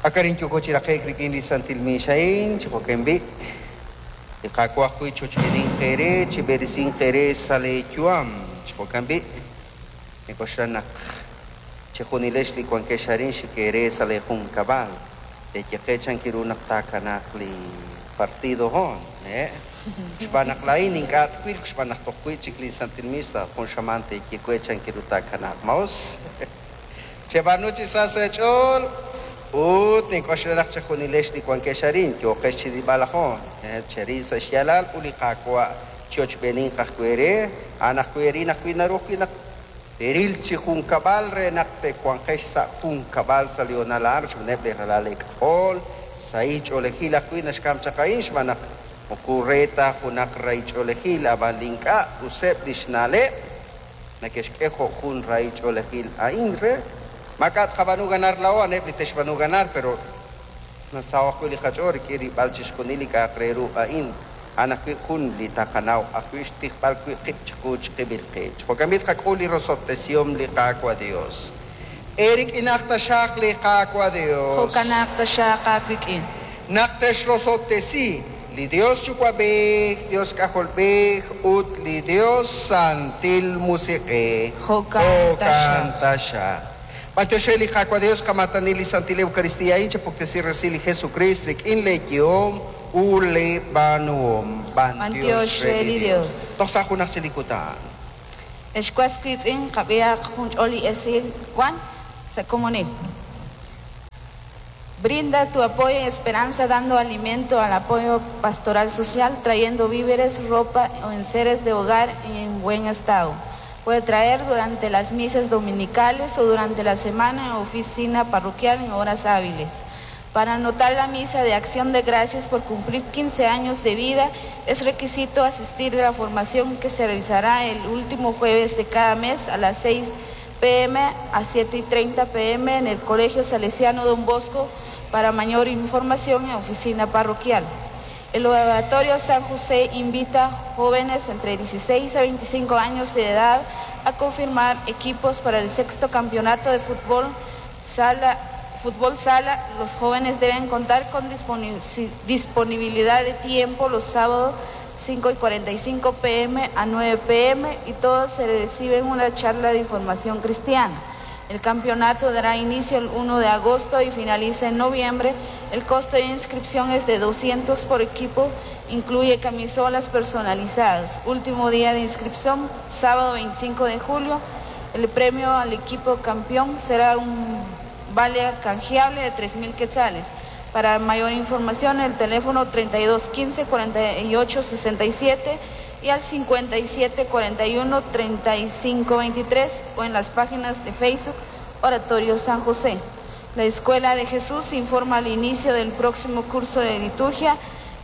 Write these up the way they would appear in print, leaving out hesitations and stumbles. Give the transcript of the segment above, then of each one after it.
Ak arin yooko chi raqe'k rik'in li santil miix a'in, chi jo'kan b'i', li Qaawa' ajwi' chochb'eeninq eere, chib'eresinq eere sa' lee yu'am. Chi jo'kan b'i', nink'oxla naq chejunilex li wankex arin xik eere sa' lee junkab'al, teeye qe chan ru naq taakanaaq li partido hoon, hehe'? Xb'aan naq laa'in ink'a' twil, xb'aan naq toj wi'chik lin santil miix sa' jun xamaan teeye we chan ru taakanaaq. Ma us? Cheb'aanu chi sa sa' eech'ool ut nink'oxla naq chejunilex li wankex arin yooqex chirilb'al ajoon. Cheril sa' xyaalal ut li Qaawa' chiochb'eeninq ajwi' eere, a'an ajwi' eerin ajwi' naru ajwi' naq teeril chi junkab'al re naq te'wanqex sa' junkab'al sa' li hoonal a'an rochb'eeneb' lee ralal eek'ajol. Sahil ch'oolejil ajwi' naxk'am chaq a'in xb'aan naq moko re ta junaq rahil ch'oolejil, ab'an li ink'a' useb' lix na'leb' Neke'xk'e jo' jun rahil ch'oolejil a'in re maak'a' tqab'aanu ganar laa'o, a'aneb' li te'xb'aanu ganar, pero nasaho' ajwi' li qach'ool rik'in rilb'al chixjunil li k'a'aq re ru a'in. A'an ajwi' jun li taqanaw ajwi' xtijb'al wi' qib' chiqu chiqib'il qib'. Chi jo'kan b'i' tqak'ul li rosob'tesihom li Qaawa' Dios. Eerik'inaq taxaq li Qaawa' Dios. Jo'kanaq taxaq aawik'in. Naq texrosob'tesi li Dios Yuwa'b'ej, Dios K'ajolb'ej, ut li Dios Santil Musiq'ej. Jo'kan Jo'kan taxaq. B'antiox re li Qaawa' Dios qamaatani li Santil Eucaristía a'in, chepuktesi resil li Jesukriist rik'in lee yehom ut lee b'aanuhom. B'antiox re li Dios. Toj sa' junaj chik li kutan. Ex was wiitz'in, qab'ihaq jun ch'ol li esil wan sa' komonil. Brinda tu apoyo y esperanza dando alimento al apoyo pastoral social, trayendo víveres, ropa o enseres de hogar en buen estado. Puede traer durante las misas dominicales o durante la semana en oficina parroquial en horas hábiles. Para anotar la misa de acción de gracias por cumplir 15 años de vida, es requisito asistir a la formación que se realizará el último jueves de cada mes a las 6 pm a 7:30 pm en el Colegio Salesiano Don Bosco. Para mayor información en oficina parroquial. El Oratorio San José invita a jóvenes entre 16 a 25 años de edad a confirmar equipos para el sexto campeonato de fútbol sala. Fútbol sala, los jóvenes deben contar con disponibilidad de tiempo los sábados 5:45 pm a 9 pm y todos se reciben una charla de información cristiana. El campeonato dará inicio el 1 de agosto y finaliza en noviembre. El costo de inscripción es de 200 por equipo, incluye camisolas personalizadas. Último día de inscripción, sábado 25 de julio. El premio al equipo campeón será un vale canjeable de 3.000 quetzales. Para mayor información, el teléfono 32 15 48 67 y al 57 41 35 23 o en las páginas de Facebook Oratorio San José. La Escuela de Jesús informa al inicio del próximo curso de liturgia,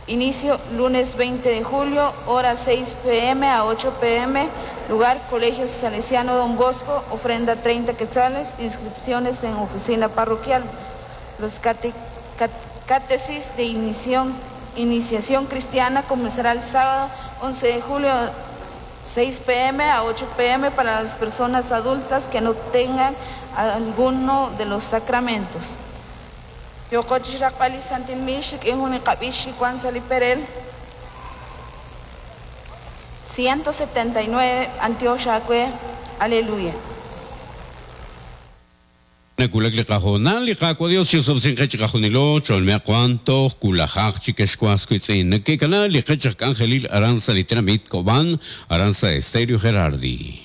inicio lunes 20 de julio, hora 6 pm a 8 pm, lugar Colegio Salesiano Don Bosco, ofrenda 30 quetzales, inscripciones en oficina parroquial. Los catesis de iniciación cristiana comenzará el sábado 11 de julio 6 pm a 8 pm para las personas adultas que no tengan alguno de los sacramentos. Yoqo chi xraqb'al li santil miix rik'in jun li qab'ix li wank sa' li perel 179 B'antiox aawe, Aleluya. Nawulak li qahoonal, li Qaawa' Dios chi'osob'tesinq qe chiqajunilo, cholmeaq wan toj wulajaq chik ex was wiitz'in. Neke'kana li qech aj k'anjelil aran sa' li tenamit Cobán, aran sa' Estéreo Gerardi.